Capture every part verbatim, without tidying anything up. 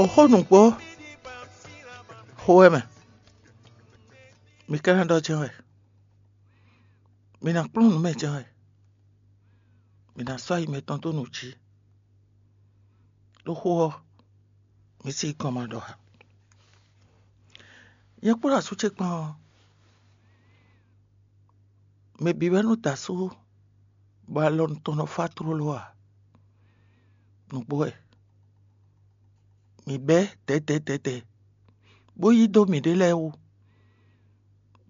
O xó nǔgbó xo wɛ mɛ, mi ka ná ɖɔ jɛ́n wɛ, mi ná kplɔ́n nǔ mɛ jɛ́n wɛ, mi ná sɔ́ ayi mɛtɔn dó nǔ jí. Ɖó xó ɔ́, mi sí gɔn ma ɖɔ ǎ. Nyɛ kpódó asú ce kpán ɔ́, mɛ bǐ wɛ nɔ da asú bɔ alɔ tɔn nɔ fá tlóló ǎ. Nǔgbó wɛ, mǐ bɛ́ dɛ̌dɛ̌dɛ̌dɛ̌, bó yí dó mǐɖée lɛ́ɛ wú.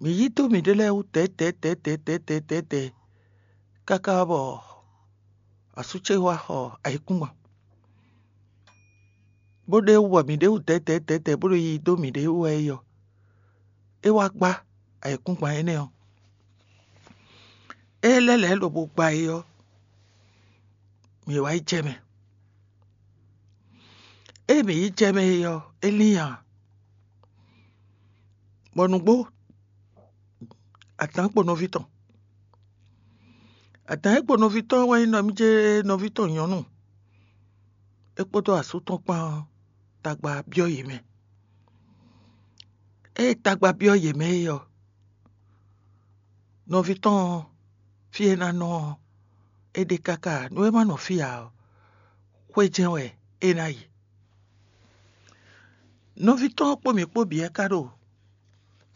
Mǐ yí dó mǐɖée lɛ́ɛ wú dɛ̌dɛ̌dɛ̌dɛ̌dɛ̌dɛ̌, káká bɔ asú ce wá xɔ ayǐkúngban, bó ɖe wú bɔ mǐɖée wú dɛ̌dɛ̌dɛ̌dɛ̌ bó ɖo yiyi dó mǐɖée wú wɛ é ɔ́, é wá gbá ayǐkúngban énɛ́ ɔ́. Ée lɛ́ lɛ̌ lobo gba é ɔ́, mǐ wá yi jɛ mɛ. Ée mǐ yi jɛ mɛ é ɔ́, é lín ǎ, bɔ nǔgbó adǎn kpo nɔví tɔn. Adǎn e kpo nɔví tɔn wɛ nyí nɔví ce nɔví tɔn nyɔ̌nu, é kpódó asú tɔn kpán ɔ́, tagba byɔ́ yě mɛ. Ée tagba byɔ́ yě mɛ é ɔ́, nɔví tɔn ɔ́, fí e é ná nɔ ɔ́, é ɖe káká ǎ. Nú é má nɔ fí ǎ ɔ́, xwé jɛ́n wɛ é ná yi. Nɔví tɔn ɔ́ kpó mǐ kpó bǐ wɛ ka ɖo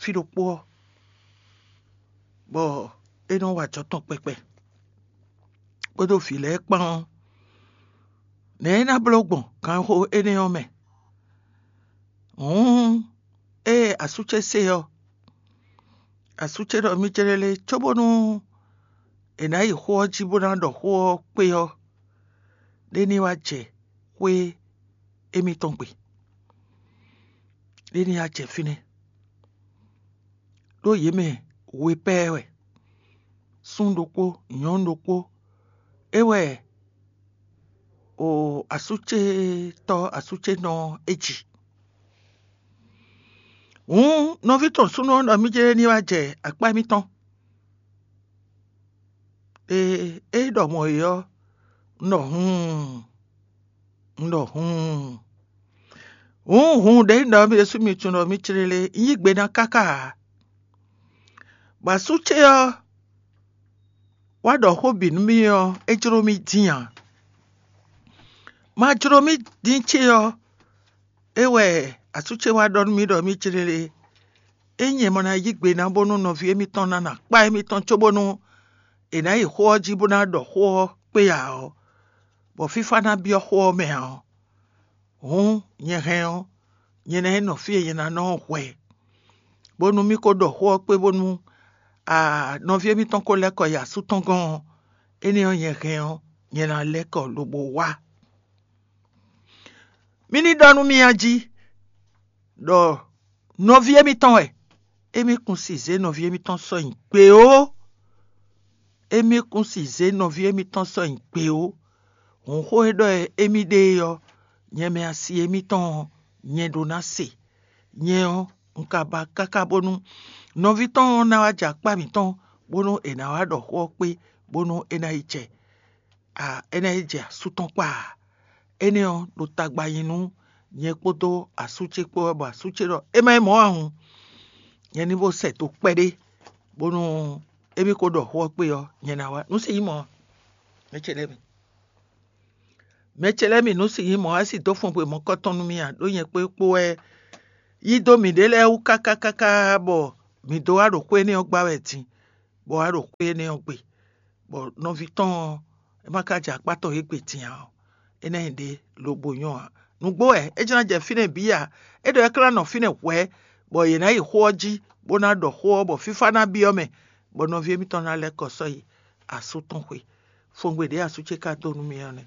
fí ɖokpó ɔ́, bɔ é nɔ wa ajɔ tɔn kpɛkpɛ, kpódó vǐ lɛ́ɛ kpán ɔ́, nɛ̌ é ná bló gbɔn ganxixo énɛ́ ɔ́ mɛ? Hǔn ée asú ce se ɔ́, asú ce ɖɔ mì céɖélé cóbónú è nǎ yi xó ɔ́ jí bó ná ɖɔ xó ɔ́ kpé ɔ́, ɖé ní wá jɛ xwé émítɔn gbe, ɖé ní wá jɛ fínɛ́. Ɖó yě mɛ we pɛ́ wɛ, súnnu ɖokpó, nyɔ̌nu ɖokpó, é wɛ o asúcétɔ́ asúcénɔ é ji. Hǔn nɔví tɔn súnnu ɔ́ ɖɔ mì jɛ́n ní wá jɛ akpá émítɔn. Ee, é ɖɔ mɔ̌ é ɔ́, un ɖɔ hǔun, un ɖɔ hǔun. Hǔun hǔun ɖě un ɖɔ mì ɖésú mi tunwun ɖɔ mì clélé, un yí gbe ná káká ǎ. Bɔ asú ce ɔ́ wá ɖɔ xó bǐ nú mì ɔ́, é jló mì dín ǎ. Ma jló mì dín ce ɔ́, é wɛ asú ce wá ɖɔ nú mì ɖɔ mì clélé, ényí è ma ná yí gbe ná bónú nɔví émítɔn ná nɔ akpá émítɔn cóbónú è nǎ yi xó ɔ́ jí bó ná ɖɔ xó ɔ́ kpé ǎ ɔ́, bɔ fífá ná byɔ́ xó ɔ́ mɛ ǎ ɔ́, hǔn nyɛ hɛn ɔ́, nyɛ ná yi nɔ fí e nyɛ ná nɔ ɔ́ hwɛ, bónú mì ko ɖɔ xó ɔ́ kpé bónú a nɔví émítɔn ko lɛ́ kɔ yi asú tɔn gɔ́n ɔ́, énɛ́ ɔ́ nyɛ hɛn ɔ́, nyɛ ná lɛ́ kɔ lobo wá. Mì ní ɖɔ nú mi a jí ɖɔ nɔví émítɔn wɛ, émí kún si zě nɔví émítɔn sɔ́ nyi gbe ó. Émí kún si zě nɔví émítɔn sɔ́ nyi gbe ó. Hǔnxó e ɖɔ émí ɖe é ɔ́, nyɛ mɛ asi émítɔn ɔ́, nyɛ ɖó ná se. Nyɛ ɔ́, un ka ba káká bónú nɔví tɔn ɔ́ ná wá jɛ akpá mǐtɔn, bónú è nǎ wá ɖɔ xó ɔ́ kpé, bónú é ná yi jɛ a é ná yi jɛ asú tɔn kpaa. Énɛ́ ɔ́ ɖo tagba nyi nú nyɛ kpódó asú ce kpó wɛ, bɔ asú ce ɖɔ é má nyí mɔ̌ ǎ hǔn, nyɛ ní bó sɛ do kpɛɖé, bónú émí ko ɖɔ xó ɔ́ kpé ɔ́, nyɛ ná wá. Nǔ si nyí mɔ̌, mɛ ce lɛ́ɛ mi, mɛ ce lɛ́ɛ mi, nǔ si nyí mɔ̌, é sì dó fɔngbe mɔ̌kɔtɔn nú mì ǎ, ɖó nyɛ kpé kpó wɛ yí dó mǐɖée lɛ́ɛ wú káká káká, bɔ mǐ dó wá ɖo xwé énɛ́ ɔ́ gbá wɛ din, bɔ wá ɖo xwé énɛ́ ɔ́ gbe, bɔ nɔví tɔn ɔ́, é ma ka jɛ akpá tɔn yě gbe din ǎ ɔ́, é ná nyí ɖě lobo nyɔ́ ǎ. Nǔgbó wɛ é jló ná jɛ fínɛ́ bǐ ǎ. É ɖɔ é ka ná nɔ fínɛ́ hwɛ̌, bɔ yě ná yi xó ɔ́ jí, bó ná ɖɔ xó ɔ́, bɔ fífá ná byɔ́ mɛ, bɔ nɔví émítɔn ná lɛ́ kɔ sɔ́ yi asú tɔn xwé. Fɔngbe ɖě asú ce ka dó nú mì ɔ́ nɛ́.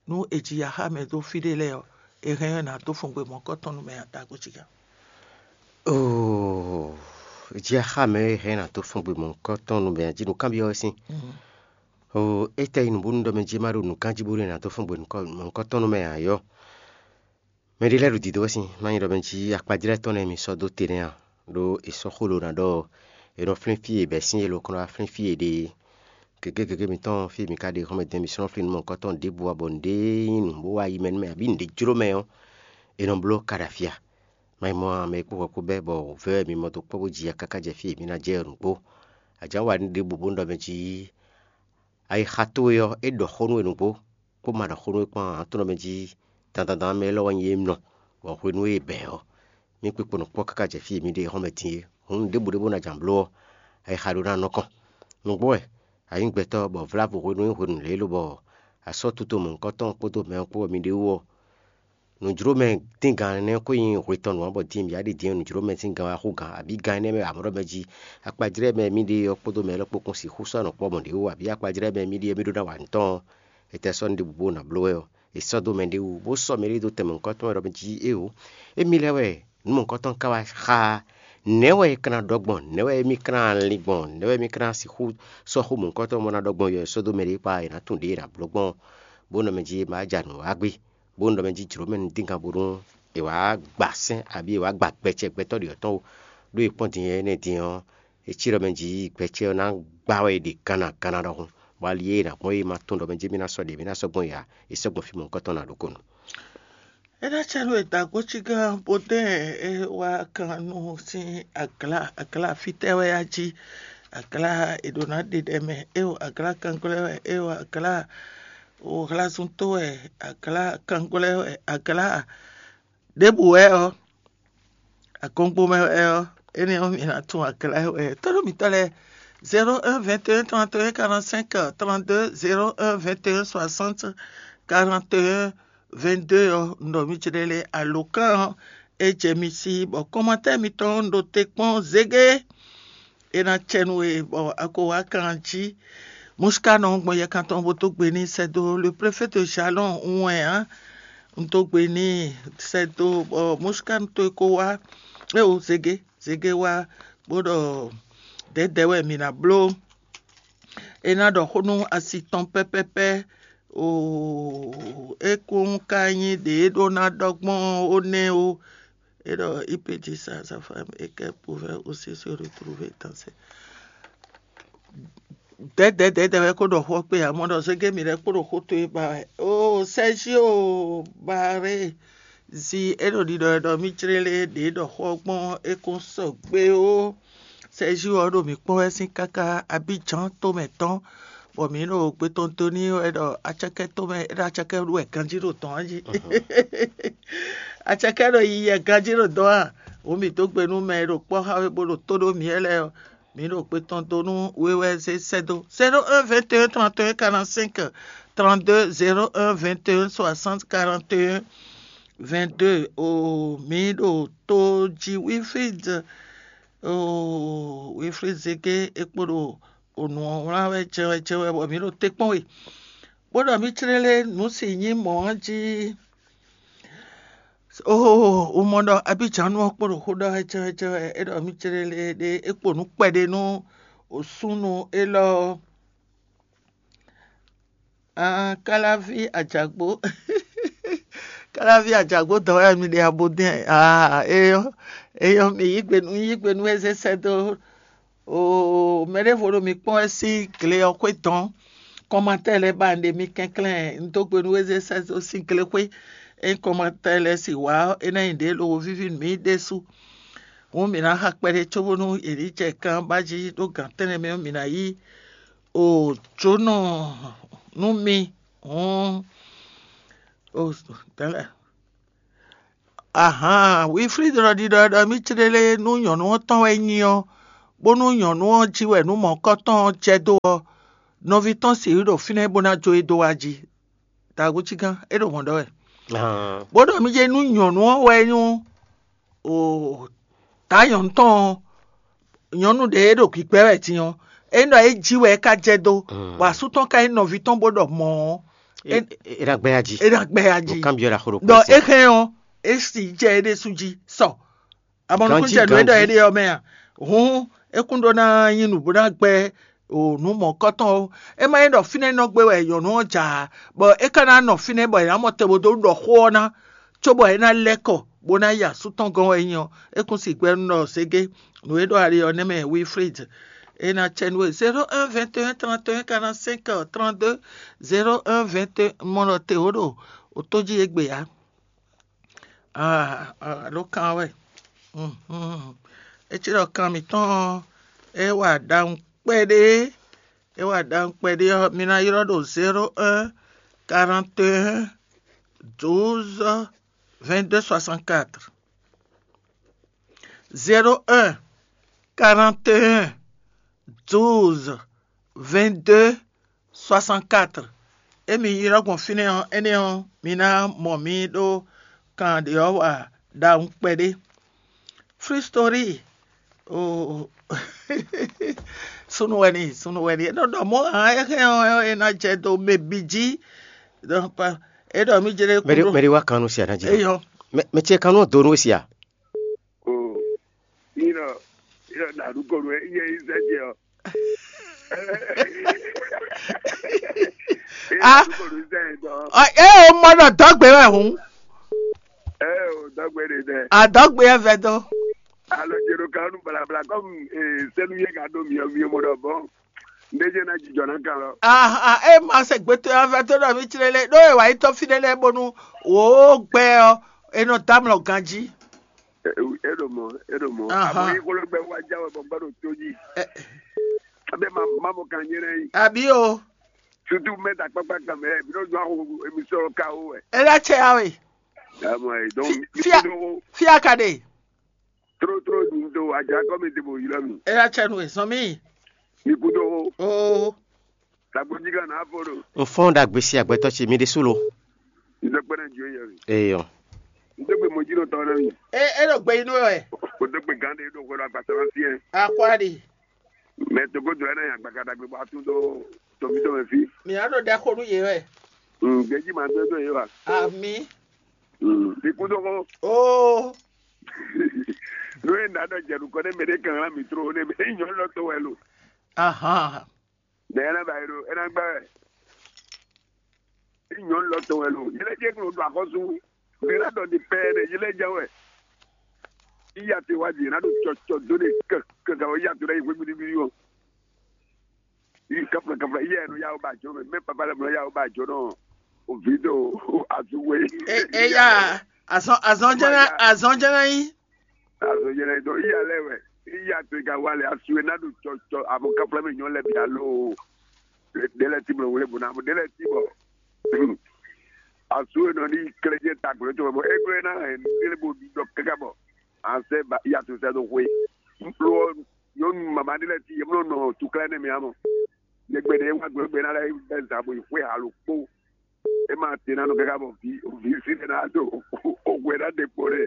Nú è ji axá mɛ dó fí ɖé lɛ́ɛ ɔ́, è hɛn ɔ́ è nǎ dó fɔngbe mɔ̌kɔtɔn nú mɛ adago cíga. Oo, jí axá mɛ e hɛn ná dó fɔngbe mɔ̌kɔtɔn nú mɛ jí nǔkanbyɔ́ wɛ sín. Oo, étɛ́ yi nǔ bónú ɖɔ mɛ jí má ɖo nǔkan jí bónú è nǎ dó fɔngbe mɔ̌kɔtɔn nú mɛ ǎ yɔ́. Mɛ ɖé lɛ́ɛ ɖo dǐdó wɛ sín, má nyí ɖɔ mɛ jí akpajlɛ́ tɔn nɛ́ mi sɔ́ dó te nɛ́ a? Ɖó è sɔ́ xó lǒ ná ɖɔ è nɔ flín fí e bɛ̌ sín e lǒ kɔn wá flín fí e ɖe é. Gěgé gěgé mitɔn fí e mi ka ɖe xɔ́mɛ din mi sɔ́ nɔ flín nú mɔ̌hunkɔtɔn ɖěbǔ ǎ, bɔ nǔɖé nyí nǔ bó wá yi mɛ nú mɛ abǐ nǔɖé jló mɛ ɔ́, È nɔ bló kaɖafia. Má nyí mɔ̌ ǎ, mɛ e kpó hwɛ kpó bɛ́ bɔ wǔvɛ́ wɛ mi mɔ dó kpɔ́ bó ji ya káká jɛ fí e mǐ ná jɛ ɔ́ nǔgbó. Ajanwáɖi ɖěbǔ bó ɖɔ mɛ jí ayixa towe ɔ́, é ɖɔ xó nú we nǔgbó, bó ma ɖɔ xó nú we kpán ǎ. Ǎ, tonɔ mɛ jí dandandan mɛ élɔ́ wɛ nyí émínɔ, bɔ hwenu e è bɛ̌ ɔ́, mì kpikpo nɔ kpɔ́ káká jɛ fí e mǐ ɖe xɔ́mɛ din é. Hǔn nǔɖěbǔ ɖé bó ná jǎn bló ɔ́, ayixa ɖó ná nɔ kɔn. Nǔgbó wɛ a nyǐ gbɛtɔ́ bɔ vlávo hwenu e hwenu lě lobɔ a sɔ́ tuto mɔ̌hunkɔtɔn kpódó mɛ ɔ́ kpó wɛ mi ɖe wú ɔ́, nǔjlómɛ díngán énɛ́ ko nyí hwe tɔn nǔ ǎ, bɔ din mǐ wá ɖi din nǔjlómɛ sín gan wá xú gǎn, abǐ gan énɛ́ mɛ amlɔ́ mɛ jí akpajlɛ́ mɛ mì ɖe ɔ́ kpódó mɛ élɔ́ kpó kún sixú sɔ́ nɔ kpɔ́ mɔ̌ ɖě wú, abǐ akpajlɛ́ mɛ mì ɖe ɔ́ mì ɖó ná wa nǔ tɔn ɔ́, étɛ́ sɔ́ nǔ ɖěbǔ bó ná bló wɛ ɔ́, è sɔ́ dó mɛ ɖé wú, bó sɔ́ mɛ ɖé dó tɛn mɔ̌hunkɔtɔn wɛ ɖɔ mɛ jí éeǒ, émí lɛ́ɛ wɛ nǔ mɔ̌hunkɔtɔn ka wá xá a? Nɛ̌ wɛ è ka ná ɖɔ gbɔn? Nɛ̌ wɛ émí ka ná lin gbɔn? Nɛ̌ wɛ émí ka ná sixú sɔ́ xó mɔ̌hunkɔtɔn bó ná ɖɔ gbɔn yɔ è sɔ́ dó mɛ ɖé kpá è nǎ tunwun ɖě è nǎ bló gbɔn ɔ́? Bó nɔ mɛ jí è ma ja nǔ wá gbé, bó nɔ mɛ jí jlǒ mɛ nú díngán bónú è wǎ gba sɛ́n abǐ è wǎ gba gbɛcɛ gbɛtɔ́ ɖě ɔ́ tɔn ó. Ɖó è kpɔ́n din énɛ́ din ɔ́, è cí ɖɔ mɛ jí gbɛcɛ ɔ́ ná gbá wɛ è ɖe ganna ganna ɖɔhun, bɔ ali e è nǎ gbɔn é ma tunwun ɖɔ mɛ jí mì ná sɔ́ ɖě mì ná sɔ́ gbɔn ǎ, è sɔ́ gbɔn fí mɔ̌hunkɔtɔn ná ɖokúnu. É ná cɛ nú è da gǒ cí gán bó dɛ́n é wá kan nú sín aglá aglá fítɛ́ wɛ á jí. Aglá è ɖǒ ná ɖe ɖɛ mɛ, é o aglá kanglɔ́ wɛ, é o aglá o hlazúntó wɛ, aglá kanglɔ́ wɛ, aglá ɖěbǔ wɛ ɔ́, agɔngbo mɛ wɛ ɔ́, énɛ́ ɔ́ mi ná tunwun aglá wɛ. Tɔ́ɖó mǐtɔn lɛ́ɛ, zéro un vingt et un trente et un quarante-cinq trente-deux, zéro un vingt et un soixante quarante et un vingt-deux ɔ́, un ɖɔ mì jlɛ́ lɛ́ɛ alǒkan ɔ́, é jɛ mi sí, bɔ kɔmatɛ́ mitɔn un ɖo te kpɔ́n zégé. É ná cɛ nú we bɔ a ko wá kan jí. Mɔ̌síká nɔ gbɔn yɛkan tɔn bó dó gbe n'i sɛ́ dó le préfet de Jalɔn wɛn ǎ. Un dó gbe n'i sɛ́ dó bɔ mɔ̌síká towe ko wá. É o zégé zégé wá bó ɖɔ dɛ̌dɛ̌ wɛ mǐ ná bló. É ná ɖɔ xó nú asi tɔn pɛ́pɛ́pɛ́. Oo, é kún ka nyí ɖě é ɖó ná ɖɔ gbɔn ó nɛ́ ó. É ɖɔ il peut dire ça à sa femme et qu'elle pouvait aussi se retrouver dans ses dɛ̌dɛ̌dɛ̌dɛ̌ wɛ kó ɖɔ xó ɔ́ kpé ǎ, mɔ ɖɔ zégé mǐ lɛ́ɛ kpo ɖo xó towe ba wɛ. Oo, Sɛ́zío Baré zi é ɖo ɖiɖɔ wɛ ɖɔ mì jlé lé ɖě ɖɔ xó ɔ́ gbɔn é kún sɔgbe ó. Sɛ́zío ɔ́ ɖo mǐ kpɔ́n wɛ sín káká Abíjan tomɛ tɔn, bɔ mǐ ɖo gbe tɔn dó n'i wɛ ɖɔ acɛkɛ tomɛ é ɖo acɛkɛ ɖu wɛ ganjí ɖo dɔ̌n jí. Acɛkɛ ɖo yiyi wɛ ganjí ɖo dɔ̌n a? Wǒ mǐ dó gbe nú mɛ e ɖo kpɔ́ xá we bó ɖo tó ɖó mǐ wɛ lɛ́ɛ ɔ́, mǐ ɖo gbe tɔn dó nú we wɛ zé sɛ́ dó. Zéro un vingt et un trente et un quarante-cinq trente-deux, zéro un vingt et un soixante quarante et un vingt-deux. O mǐ ɖo tó jí Wilfrid, o Wilfrid Zeke é kpo ɖo o nǔ ɔ́ wlán wɛ jɛwɛ jɛwɛ bɔ mǐ ɖo te kpɔ́n we. Bó ɖɔ mǐ clélé nǔ si nyí mɔ̌ ɔ́ jí. Oo, un mɔ ɖɔ Abíjǎnu ɔ́ kpo ɖo xó ɖɔ wɛ jɛwɛ jɛwɛ, é ɖɔ mǐ clélé ɖé é kpo nǔ kpɛɖé nú o súnnu élɔ́ ɔ́. Aa, káláví ajǎgbó káláví ajǎgbó dɔn wɛ mi ɖe abo dɛn. Aa, eyɔ eyɔ mi yí gbe nú yí gbe nú eze sɛ́ dó. Oo, mɛ ɖěvo ɖo mi kpɔ́n wɛ sín gle ɔ́ xwé dɔn. Kɔmatɛ́ lɛ́ɛ ba un ɖe mi kɛnklɛ́n un dó gbe nú eze sɛ́ dó sín gle xwé. Ényí kɔmatɛ́ lɛ́ɛ si wǎ ɔ́, é ná nyí ɖě lobo víví nú mǐ ɖésú. Hǔn mǐ ná xa kpɛɖé cóbónú yě ní jɛ kanbá jí ɖó gǎn tɛ́nnɛ mɛ ɔ́, mǐ ná yí o jǒnɔ nú mi. Hǔn o dɛ̌lɛ. Ahǎn, Wilflíd ɖɔ ɖiɖɔ ɖɔ mì clélé nú nyɔ̌nu ɔ́ tɔn wɛ nyí ɔ́, bónú nyɔ̌nu ɔ́ jí wɛ nǔ mɔ̌kɔ́tɔn ɔ́ jɛ dó ɔ́, nɔví tɔn sixú ɖo fínɛ́ bó ná jó e dó wá jí. Dǎgúcígán, é ɖo mɔ̌ ɖɔ wɛ. Bó ɖɔ mì jɛ nú nyɔ̌nu ɔ́ wɛ nyí o dǎ nyɔ̌nu tɔn ɔ́, nyɔ̌nu ɖě e ɖo gbǐgbɛ́ wɛ din ɔ́, ényí ɖɔ é jí wɛ é ka jɛ dó, bɔ asú tɔn ka nyí nɔví tɔn bó ɖɔ mɔ̌ ɔ́, é ná gbɛ́ ya jí. É ná gbɛ́ ya jí. Ɖo é hɛn ɔ́, é si jɛ é ɖésú jí sɔ. Amɔnukúnjɛ nǔ e ɖɔ é ɖe ɔ́ mɛ a? Hǔn é kún ɖó ná nyí nǔ bó ná gbɛ́ o nǔ mɔ̌kɔ́tɔn ó. É má nyí ɖɔ fínɛ́ nɔ gbé wɛ nyɔ̌nu ɔ́ ja ǎ, bɔ é ka ná nɔ fínɛ́ bɔ è nǎ mɔ te bó dó ɖɔ xó ɔ́ ná, cóbɔ é ná lɛ́ kɔ bó ná yi asú tɔn gɔ́n wɛ é nyí ɔ́, é kún si gbɛ́ nú ɖɔ ségé nǔ e ɖɔ ali ɔ́ nɛ́ mɛ Wilfrid. É ná cɛ nú we zéro un vingt et un trente et un quarante-cinq trente-deux, zéro un vingt et un mɔ ɖɔ te wǒ ɖo o tó jí égbé ǎ. Ah, ah, ɖó kan wɛ. Mhm. É cí ɖɔ kan mǐtɔn ɔ́, é wa ɖawun kpɛɖé. É wa ɖawun kpɛɖé ɔ́, mi ná ylɔ́ ɖo zéro un, quarante et un, douze, vingt-deux, soixante-quatre. Zéro un, quarante et un, douze, vingt-deux, soixante-quatre. Emi ylɔ́ gbɔn fínɛ́ ɔ́, énɛ́ ɔ́, mi ná mɔ mì ɖó kan ɖě ɔ́ wa ɖawun kpɛɖé. Free story. Oh. Sunu wɛ ni, sunu wɛ ni. É nɔ ɖɔ mɔ̌ hǎn é hɛn ɔ́, é ná jɛ dó mɛ bǐ jí. Donc, é ɖɔ mì jɛ ɖe Mɛɖi kúɖó. Mɛɖi wá kan nú sia ná jí. Eyɔ. Mɛ mɛ ce kan nú do nú sia. Oh. Ina, ina na ɖu kɔnu ɛ, iye yi zɛ jɛ ɔ. Ah. Ina ɖu kɔnu zɛ dɔ. Ɔ, é o mɔ ɖɔ dɔgbe wɛ hǔn. Ɛ o dɔgbe ɖe dɛ. Adɔgbe ɛ vɛ dɔ. Alɔ jero kanu blabla kɔmi sɛnu yɛ ka ɖo miɔ miɔ mɔ ɖɔ bɔn. Ɖe jɛ na jijɔ na kan lɔ. Ah, ah, é ma se gbɛtɔ́ ɔ́ vɛ tó ɖɔ mì tlélé ɖó è wǎ yi tɔ́ fí ɖé lɛ́ɛ bónú wǒ gbɛ ɔ́, è nɔ dó amlɔ ganjí. E ɖo mɔ, e ɖo mɔ. Ahán. Àmọ́ yín kó ló gbẹ wá jáwé bọ́ gbọ́dọ̀ tó yìí. Ẹ- Abẹ́ máa máa mọ kàn yín rẹ̀ yìí. Àbí o, Tuntun mẹ́ta pápá kan mẹ́rẹ̀ bí ló dún àwọn èmi sọ̀rọ̀ ká ó wẹ̀. É lɛ́ cɛ ya we. Àmọ́ ẹ̀ dɔn Fi- mi fia- kúndó Fia ka ɖe. Tró tró ní do àjà kọ́ mi dìbò yìí lọ́mì. É lɛ́ cɛ nu e zɔn mì. Mi kúndó Oo. Tàgbójì kan náà fòrò. N fɔ́n ɖagbe sí agbɛtɔ́ ce mi ɖésú lo. N dó kpɛ́nɛ jù yɛ mi. Eyɔ. N dó gbe mɔjínɔ tɔn náà mi. É é ɖo gbe inú wɛ. O dó gbe gán de ɖo hwɛlɔ agbasɔlɔ sí ɛ. Akwáɖi. Mɛ togodo ɛ náà yàn gbàgàdà gbé bɔ atún dó tòmí tó mɛ fí. Mǐ ná ɖo ɖɛ xo nú yě wɛ. Gbɛjí máa dó dó yé wa. Àmì. Ikú tó kó. Oo. Nú é nà ɖɔ jɛ̀nù kɔ nɛ mɛ ɖé kan lá mi tró nɛ mɛ é nyɔ̌ lɔ tó wɛ lo. Ahán. Nɛ é ná ba yi ɖo é ná gbá wɛ. É nyɔ̌ lɔ tó wɛ lo. Yé lɛ́ jẹ́ kí ló ɖo axɔ́sú. Mɛ ná ɖɔ ní pɛɛ nɛ yé lɛ́ jɛ wɛ. Iya te wá di ná ɖo cɔcɔ dó ne kɛkɛ kɛ iya to ɖe yi hwé gbíɖígbíɖí ɔ. Yi kafla kafla iya ɛnu yawo ba jɔ mɛ mɛ papa lɛ mlɔ yawo ba jɔ nɔ. O vi do azuwe. Eya azɔn azɔn jɛnɛ azɔn jɛnɛ yi. Azɔn jɛnɛ dɔ iya lɛ wɛ iya to ka wa lɛ asu e na ɖo cɔcɔ amo kafla mi nyɔ lɛ bi alo. Ɖe lɛ ti mlɔ wele bo na ɖe lɛ ti bɔ. Asu e nɔ ni klɛjɛ ta gbolo tɔmɛ bɔ e gblo na hɛn nele bo ɖɔ kaka bɔ. An sɛ ba iya to sɛ do hwe. Lo nyɔnu mama ɖe lɛ ti yemlɔ nɔ tuklɛ ne mi amɔ. Nyɛgbɛ ɖe wa gblo gbɛ na lɛ bɛ zabo yi hwe alo kpo. E ma te na nɔ kaka bɔ vi vi si ɖe na do hwe na ɖe kpo ɖe.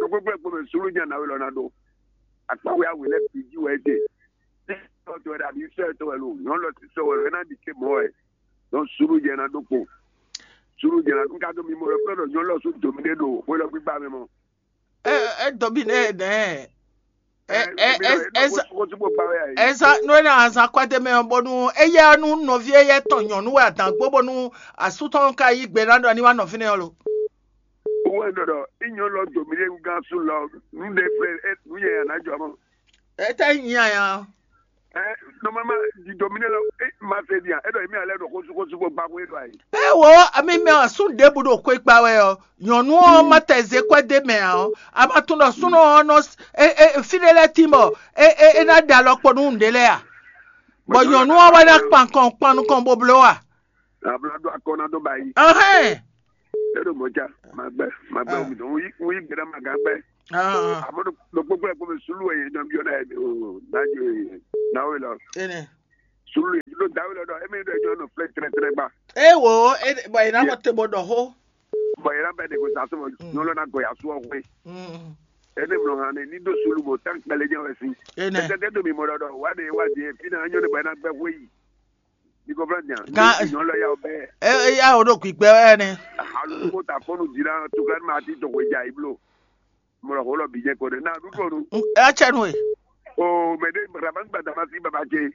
Ɖokpokpo kpo mɛ sulu nya na we lɔ na ɖo. Akpawe awe lɛ bi ji wɛ de. Tɔ to wɛ ɖe abi sɔ tɔ wɛ lo nyɔnu lɔ ti sɔ wɛ lo e na ɖi ke mɔ wɛ. Donc sulu jɛ na ɖo kpo. Sulu jɛ na nka do mi mɔ lɔ kple ɖɔ nyɔnu lɔ su domi ɖe ɖo hwe lɔ gbigba mɛ mɔ. É é domi nɛ nɛ. É é é é Eza no ena azan kwɛdemɛ ɔ bonu eya nu nɔvi eya tɔn nyɔnu wɛ adan gbo bonu asu tɔn ka yi gbe na ɖɔ ni wa nɔvi nɛ ɔ lo. Wɛ ɖɔɖɔ inyɔ lɔ domi ɖe gán su lɔ nu ɖe fɛ nu yɛ yana jɔ mɔ. Etɛ nyi aya. Ɛ nɔmɛma di domi ɖe lɔ e ma se dia e ɖɔ emi alɛ ɖo xosu xosu bɔ gbaxo e ɖɔ ayi. Ewo ami mɛ asu ɖebu ɖo xwe kpa wɛ ɔ nyɔnu ɔ ma tɛ ze kwɛdemɛ ɔ a ma tunɔ sunɔ ɔ nɔ. Fí ɖé lɛ́ɛ tín bɔ é ná ɖe alɔ kpo nú nǔɖé lɛ́ɛ a? Bɔ nyɔ̌nu ɔ́ wɛ ná kpan kɔn kpan nukɔn bó bló a? Abla ɖó akɔ ná dó ba yi. Ɛhɛn. É ɖo mɔ̌ ca, ma gbɛ, ma gbɛ wumi dɔn, wọ́n yí gbé ná ma gán gbɛ. Àmọ́ ɖo gbogbo ẹ̀ kó mi sùúrù ẹ̀yẹ jọ bí ọ̀nà ẹ̀ o, náà jọ ẹ̀ náà wẹ̀ lọ. Ene. Sùúrù yìí ló dáwé lọ́dọ̀, ẹ̀mí ló jọ nù flẹ́ tẹ́rẹ́tẹ́rẹ́ gbà. E wo, e bɔ yìí náà mɔ te bɔ dɔ xó. Bɔ yìí náà bɛ de ko sa sɔmɔ nyɔlɔ náà gɔ yà sọ ɔkùnrin. Ene mlɔ hàn ní ní dó sùúrù bò tán kpɛlɛ jẹ́ wẹ̀ sí. Ene. Ẹ̀tẹ́tẹ́ domi mọ́ dọ́dọ̀, wà á de wá di ẹ̀ fínà nyɔlɔ bọ̀ ẹ̀ náà gbẹ́ wé yìí. Gan- Nyɔnu lɔ ya o bɛ. E ya o ɖo gbígbɛ wɛ nɛ. Alu ko ta fɔnu dzi na tukla ma ti to ko ja iblo. Mɔlɔ ko lɔ bi jɛ ko de na du ko nu. E ya cɛ nu e. O mɛ de rama gba dama si baba ce.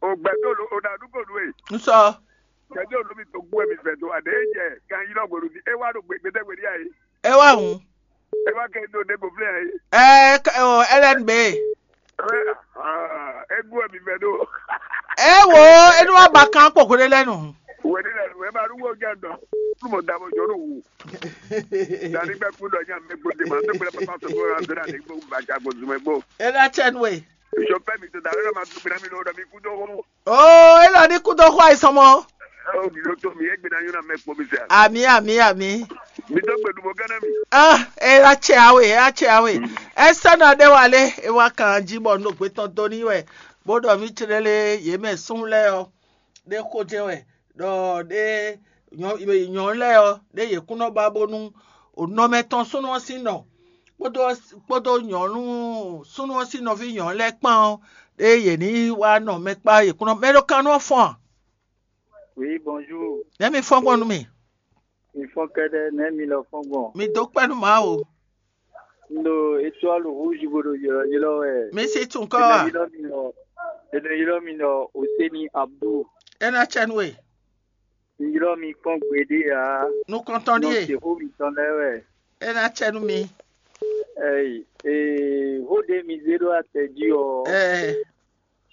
O gbɛ do lo o na du ko nu e. N sɔ. Gbɛ do lo mi to gu mi fɛ do a de jɛ kan yi lɔ gbɔdu di e wa do gbe gbɛdɛ gbɛdi ayi. E wa hun. E wa kɛ do de go flɛ ayi. Ɛ ɔ L N B. E gu mi fɛ do. E wo e nu wa ba kan kpokpo de lɛ nu. Wɛɖí lɛ nǔ ɛ ma ɖu wó jɛ dɔ. Nú mo da mo jɔ nú wu. Dani gbɛ kú dɔ nya mɛ gbó de ma tó gbɛ papa tó gbó ra dra de gbó ba ja gbó zumɛ gbó. E na cɛ nu e. Sɔ pɛ mi tó da lɛ ma tó gbɛ mi lɔ dɔ mi kú dɔ wó. Oo, e lɔ ní kú dɔ xɔ àìsàn mɔ. Ó mi ló tó mi é gbé na yóò na mɛ kpó mi sɛ. Àmì, àmì, àmì. Mi tó gbé dùbò gánà mi. Ah, e na cɛ awe, e na cɛ awe. Ɛ sɛ na ɖe wa lé, e wa kan jí bɔ nɔ gbé tɔn dó ní wɛ. Bó ɖɔ mí tlélé yě mɛ sún lɛ́ɛ ɔ́, ɖé xó jɛ́n wɛ, ɖɔ ɖé nyɔ̌nu lɛ́ɛ ɔ́, ɖé yě kún nɔ ba bónú nɔ mɛtɔn súnnu ɔ́ sín nɔ kpódó kpódó nyɔ̌nu súnnu ɔ́ sín nɔví nyɔ̌nu lɛ́ɛ kpán ɔ́, ɖé yě ní wá nɔ mɛ kpá yě kún nɔ mɛ ɖó kannú ɔ́ fɔ́n a? Oui, bonjour. Nɛ̌ mi fɔ́n gbɔn nú mì? Mi fɔ́n kɛ́ɖɛ́, nɛ̌ mi lɔ fɔ́n gbɔn? Mi dó kpɛ́ nú Mawu. Un ɖo étoile rouge bó ɖo ylɔ́ylɔ́ wɛ. Mi si tún kɔ È nɔ a? Ylɔ́ mi ɖɔ, è nɔ ylɔ́ mi ɖɔ Hosseini Abdou. É ná cɛ nú we. Un ylɔ́ mi kpɔ́n gbeɖé ǎ. Nukɔntɔn Nɔ ɖíe. Xó mitɔn lɛ́ɛ wɛ. É ná cɛ nú mi. Ɛyi, ee, xó ɖé mi zé ɖó atɛ jí ɔ́, Ɛɛ,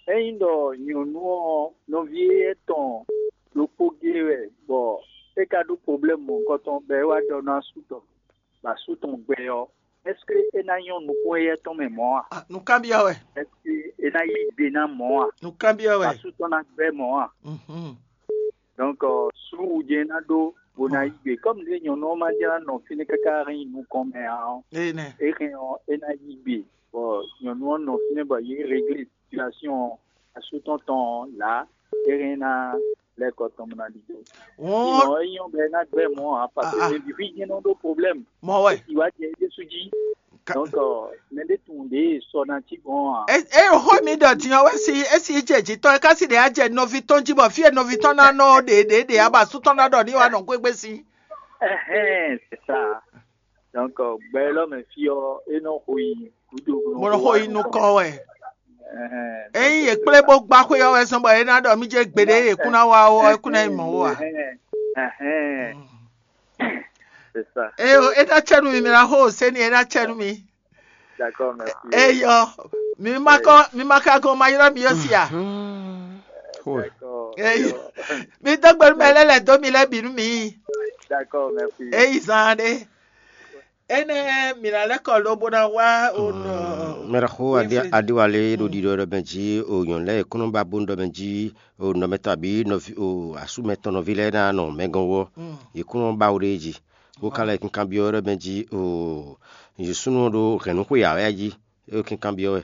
ényí ɖɔ nyɔ̌nu ɔ́ nɔví étɔn ɖokpó gé wɛ, bɔ é ka ɖó problème mɔ̌hunkɔtɔn bɔ é wá ɖɔ nú asú tɔn, bɔ asú tɔn gbɛ ɔ́, est-ce que é ná nyɔ́ nukún éyɛ́ tɔn mɛ mɔ̌ a? Ah, nǔkanbyɔ́ wɛ. Est-ce que é ná yí gbe ná mɔ̌ a? Nǔkanbyɔ́ Bɔ wɛ. Asú tɔn ná gbɛ́ mɔ̌ a? Mhm. Donc, euh, sú wǔ jɛ́n é ná ɖó bó ná yí gbe. Comme ɖé nyɔ̌nu ɔ́ ma jlá nɔ fínɛ́ káká hɛn nyi nukɔn mɛ ǎ ɔ́, Énɛ́. É hɛn ɔ́, é ná yí gbe. Bɔ nyɔ̌nu ɔ́ nɔ fínɛ́ bɔ yě réglé situation ɔ́, asú tɔn tɔn ɔ́ là, é hɛn ná lɛ́ kɔ tɔn mɔ ná ɖidó. Sinon, é nyɔ́ bɔ é ná gbɛ́ mɔ̌ ǎ, parce que Ah, ah. Mɛ bǐ fí jɛ́n nɔ ɖó problème. Mɔ̌ wɛ. Sì wá jɛ é ɖésú jí. Ka- Donc, euh, mɛ ɖé tunwun ɖě sɔ ná cí gbɔn ǎ. E e xó mi ɖɔ din ɔ́ wɛ si esi jɛ jǐ tɔn é ká si ɖe á jɛ nɔví tɔn jí bɔ fí e nɔví tɔn ná nɔ ɖě ɖě ɖě á ba sú tɔn ná ɖɔ ní wa nɔ gbégbé sí. Ɛhɛn, c'est ça. Donc, euh, gbɛ lɔ mɛ fí ɔ́, é nɔ xo yi gúdo. Mo nɔ xo yi nukɔn wɛ. Ɛhɛn, Ényí donc, yě kplé bó gbá xwé ɔ́ wɛ zɔn bɔ é ná ɖɔ mí jɛ gbeɖé yě kún ná wá ó ɔ́, é kún ná nyí mɔ̌ ó a? Ɛhɛn, ɛhɛn. C'est ça. Eye o, é ná cɛ nú mi, mi ná xo o sɛ́ni, é ná cɛ nú mi. D'accord, merci. Eyɔ, mi ma kɔ, mi ma ka gɔn ma ylɔ́ mi yó si a? Xó e. D'accord. Eyɔ, mi dó gbe nú mɛ lɛ́ lɛ̌ dó mi lɛ́ bǐ nú mi. D'accord, merci. Eyi zan ɖé. Énɛ́ mi ná lɛ́ kɔ lobo ná wá o nɔ. Mɛɖexó Adiwalé ɖo ɖiɖɔ ɖɔ mɛ jí o nyɔ̌nu lɛ́ɛ e kún nɔ ba bónú ɖɔ mɛ jí o nɔmɛtɔn abǐ nɔví o asúmɛ tɔn nɔví lɛ́ɛ ná nɔ mɛ gɔ́n wú ɔ́, yě kún nɔ ba wo ɖ'é jí. Bó ka lɛ́ kinkanbyɔ́ ɖɔ mɛ jí o nyǐsúnú ɔ́ ɖó hɛ̌nnúxwe ǎ wɛ a jí? É ɖo kinkanbyɔ́ wɛ.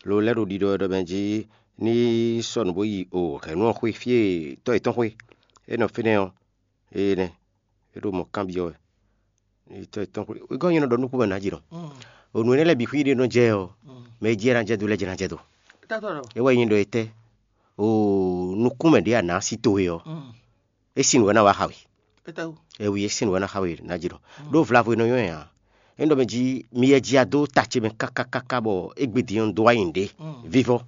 Lo lɛ́ ɖo ɖiɖɔ wɛ ɖɔ mɛ jí ní sɔ́ nǔ bó yi o hɛ̌nnu ɔ́ xwé fí e tɔ́ yětɔn xwé, é nɔ fínɛ́ ɔ́, énɛ́ é ɖo mɔ̌ kanbyɔ́ wɛ. Tɔ́ yětɔn xwé é gɔ́ nyí nɔ ɖɔ nukún mɛ nǎ jí nɔ. O nǔ énɛ́ lɛ́ɛ bǐ xwí ɖé nɔ jɛ ɔ́, mɛ e jí é ná jɛ dó lɛ́ɛ jɛ ná jɛ dó. É wɛ nyí ɖɔ é tɛ́ o nukún mɛ ɖě a nǎ sí towe ɔ́, é sín nǔ wɛ ná wá xa we. Étɛ́wú? Ɛwi é sín nǔ wɛ ná xa we ná jí nɔ. Ɖó vlavo e nɔ nyɔ́ ɛ ǎ. É nɔ mɛ jí mi yɛ jí a dó ta ce mɛ káká káká bɔ égbé din ɔ́ un dó wá nyi nǔɖé vívɔ́.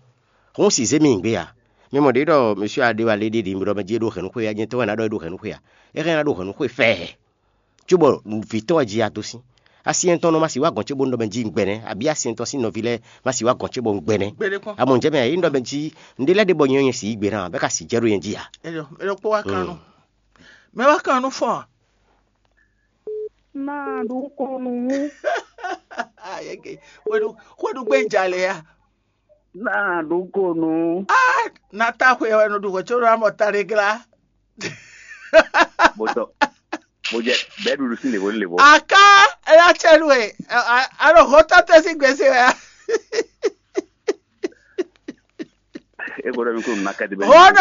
Xó un sì zé mi nyi gbé ǎ. Mi mɔ ɖě ɖɔ mɛsúa ɖé wá lé ɖé ɖě mi ɖɔ mɛ jí é ɖo hɛ̌nnu xwé wɛ, jɛ́n tɔ́ wɛ ná ɖɔ é ɖo hɛ̌nnu xwé ǎ. É hɛn ná ɖo hɛ̌nnu xwé fɛɛ. Cóbɔ vǐ tɔn wɛ jí a dó sín. Asyɛ́ntɔn nɔ ma sì wá gɔ̌n ce bó un ɖɔ mɛ jí un gbɛnɛ́, abǐ asyɛ́ntɔn sín nɔví lɛ́ɛ ma sì wá gɔ̌n ce bɔ un gbɛnɛ́. Gbɛɖekpɔ́n. Amɔ un jɛ mɛ ǎ, é nɔ mɛ jí un ɖé lɛ́ ɖe bɔ nyɛ nyɛ sì yí gbe ná, bɛ́ ka sì jɛ ɖó nyɛ jí ǎ. Ɛyɔ, ɛyɔ kpó wá kan nú. Mɛ wá kan nú fɔ́n. Máa ɖu kɔn nú wú. Ayɛkɛ, xwéɖu xwéɖu gbé jalè ya. Máa ɖu kɔn nú. Ah, na ta xwe wɛ nɔ ɖu xwe tso ɖo amɔ ta ɖe glá. Botɔ, bojɛ, bɛɛ ɖuɖu sín levo levo. Aka, ela tsɛ nu e, alo hɔn tɔtɛ sín gbèsè wɛ. E gbọ́dọ̀ mi kó nù nákàdé bẹ́ẹ̀. Hɔn